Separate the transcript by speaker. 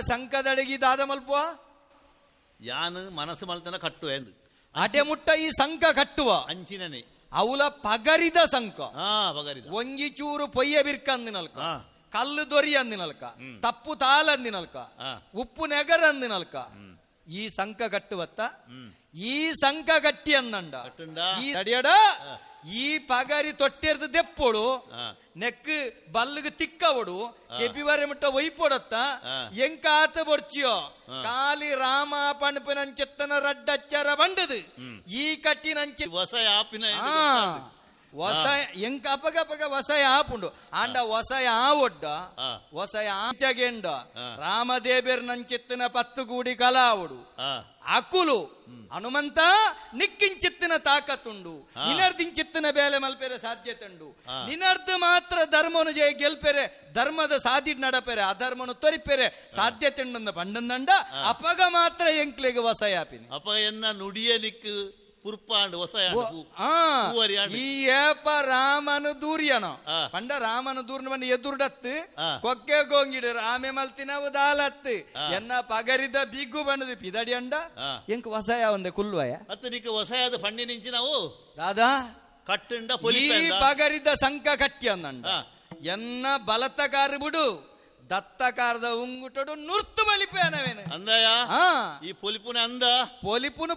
Speaker 1: ಸಂಕದಡಗಿ ದಾದ ಮಲ್ಪುವ
Speaker 2: ಯಾನ್ ಮನಸ್ಸು ಮಲ್ತನ ಕಟ್ಟುವೆ ಎಂದು
Speaker 1: ಅಟೆ ಮುಟ್ಟ ಈ ಸಂಕ ಕಟ್ಟುವ
Speaker 2: ಅಂಚಿನನೆ
Speaker 1: ಅವಲ ಪಗರಿದ ಸಂಕ
Speaker 2: ಪಗರಿದ
Speaker 1: ಒಂಜಿ ಚೂರು ಪೊಯ್ಯ ಬಿರ್ಕಂದಿನಲ್ಕ ಕಲ್ಲು ದೊರಿ ಅಂದಿನಲ್ಕ ತಪ್ಪು ತಾಲಂದಿನಲ್ಕ ಉಪ್ಪು ನೆಗರ ಅಂದಿನಲ್ಕ ಈ ಸಂಕ ಕಟ್ಟುವತ್ತ ಈ ಸಂಕ ಕಟ್ಟಿ ಅಂದಂಡ ಈ ತಡಿಯಡ ಈ ಪಗರಿ ತೊಟ್ಟಿರ್ದು ದೆಪ್ಪೋಡು ನೆಕ್ ಬಲ್ಲಿಗೆ ತಿಕ್ಕವಡು ಕೆಪಿವರೆ ಮುಟ್ಟ ಒಯ್ಪೊಡತ್ತ ಎಂಕ ಆತ ಬೊಡ್ಚಿಯೋ ಕಾಲಿ ರಾಮ ಪಣಪಿನಂచెತ್ತನ ರಡ್ಡಚ್ಚರ ಬಂಡದು ಈ ಕಟ್ಟಿನಂಚೆ
Speaker 2: ವಸ ಆಪಿನ
Speaker 1: ವಸ ಎಂಕ ಅಪಗ ಅಪಗ ವಸ ಆಪುಂಡು ಆಂಡ ವಸ ಆವೊಡ್ಡ ವಸ ಆಚಗೆಂಡ ರಾಮದೇವೆರ್ ನಂచెತ್ತಿನ ಪತ್ತು ಕೂಡಿ ಕಲಾವುಡು ಅಕುಲು ಹನುಮಂತ ನಿಕ್ಕಿಂಚಿತ್ತಿನ ತಾಕತ್ತುಂಡು ನಿನರ್ದಿಂಚಿತ್ತಿನ ಬೇಲೆ ಮಲ್ಪೆರೆ ಸಾಧ್ಯತೆ ಉಂಡು ನಿನರ್ದು ಮಾತ್ರ ಧರ್ಮನು ಜಯ ಗೆಲ್ಪೆರೆ ಧರ್ಮದ ಸಾದಿ ನಡಪೆರೆ ಅಧರ್ಮನು ತೊರಿಪೆರೆ ಸಾಧ್ಯತೆ ಉಂಡು ಪಂಡಂದಂಡ ಅಪಗ ಮಾತ್ರ ಎಂಕ್ಲೆಗ್ ವಸಯಾಪಿನಿ
Speaker 2: ಅಪಗ ಎನ್ನ ನುಡಿಯ ನಿಕ್ ಪುರ್ಪಾಂಡ್
Speaker 1: ಈ ಏಪ ರಾಮನು ದೂರ್ಯನೋ ಪಂಡ ರಾಮನು ದೂರ್ನ ಬಂಡ ಎದುರ್ಡತ್ತು ಕೊಕ್ಕೆ ಗೋಂಗಿಡು ರಾಮೆ ಮಲ್ತಿನವು ದಾಲತ್ತು ಎನ್ನ ಪಗರಿದ ಬಿಗ್ಗು ಬಣ್ಣದ ಪಿದಡಿ ಅಂಡ ಎಂಕ್ ವಸಯ ಒಂದೆ ಕುಲ್ವಯ
Speaker 2: ಅತ್ತ ನಿಕ್ ವಸಯಾದ ಪಣ್ಣಿ ನಿಂಚಿ ನಾವು
Speaker 1: ದಾದಾ
Speaker 2: ಕಟ್ಟಂಡ
Speaker 1: ಈ ಪಗರಿದ ಸಂಕ ಕಟ್ಟಿ ಅಂದಂಡ ಎನ್ನ ಬಲತಕಾರ ಬಿಡು ದತ್ತಕಾರದ ಉಂಗುಟಡು ನುರ್ತು ಬಲಿಪೇನವೇನು
Speaker 2: ಅಂದಯ ಈ ಪೊಲಿಪುನ ಅಂದ
Speaker 1: ಪೊಲಿಪುನ.